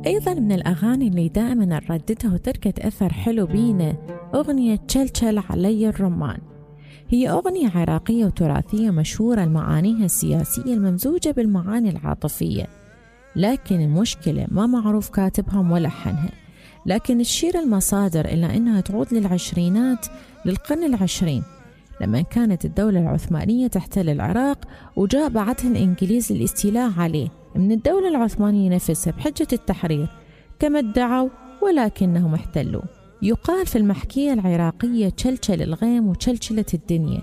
أيضا من الأغاني اللي دائما نرددها وتركت أثر حلو بينا أغنية تشلشل علي الرمان. هي أغنية عراقية وتراثية مشهورة لمعانيها السياسية الممزوجة بالمعاني العاطفية، لكن المشكلة ما معروف كاتبها وملحنها. لكن تشير المصادر إلى أنها تعود للعشرينات للقرن العشرين، لما كانت الدولة العثمانية تحتل العراق وجاء بعدها الإنجليز للاستيلاء عليه من الدولة العثمانية نفسها بحجة التحرير كما ادعوا، ولكنهم احتلوا. يقال في المحكية العراقية تشلشل الغيم وتشلشلة الدنيا،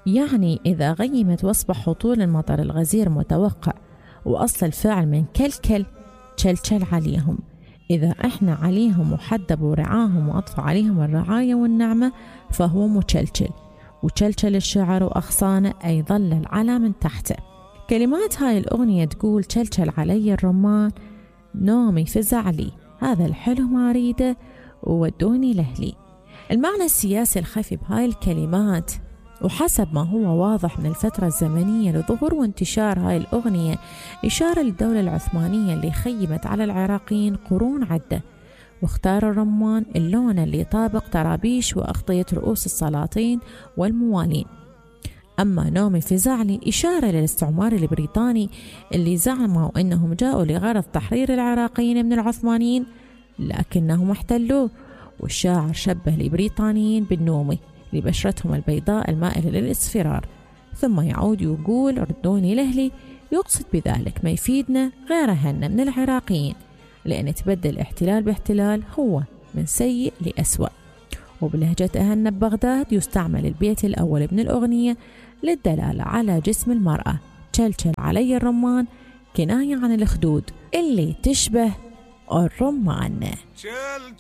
يعني إذا غيمت واصبح هطول المطر الغزير متوقع، وأصل الفعل من كلكل تشلشل عليهم. إذا إحنا عليهم وحدب ورعاهم وأطفى عليهم الرعاية والنعمة فهو متشلشل، وتشلشل الشعر وأغصانه أي ظل العلا من تحته. كلمات هاي الأغنية تقول: تشلشل علي الرمان، نومي فزع لي، هذا الحلو ما أريده وودوني لأهلي. المعنى السياسي الخفي بهاي الكلمات، وحسب ما هو واضح من الفترة الزمنية لظهور وانتشار هاي الأغنية، إشارة للدولة العثمانية اللي خيمت على العراقيين قرون عدة، واختار الرمان اللون اللي يطابق طرابيش وأغطية رؤوس السلاطين والموالين. أما نومي فزع لي إشارة للاستعمار البريطاني اللي زعموا أنهم جاءوا لغرض تحرير العراقيين من العثمانيين لكنهم احتلوه. والشاعر شبه البريطانيين بالنومي لبشرتهم البيضاء المائلة للإصفرار، ثم يعود ويقول: ردوني لأهلي، يقصد بذلك ما يفيدنا غير أهلنا من العراقيين، لأن تبدل الاحتلال باحتلال هو من سيء لأسوأ. وبلهجة أهلنا ببغداد يستعمل البيت الأول من الأغنية للدلالة على جسم المرأة، تشلشل علي الرمان، كناية عن الخدود اللي تشبه الرمان.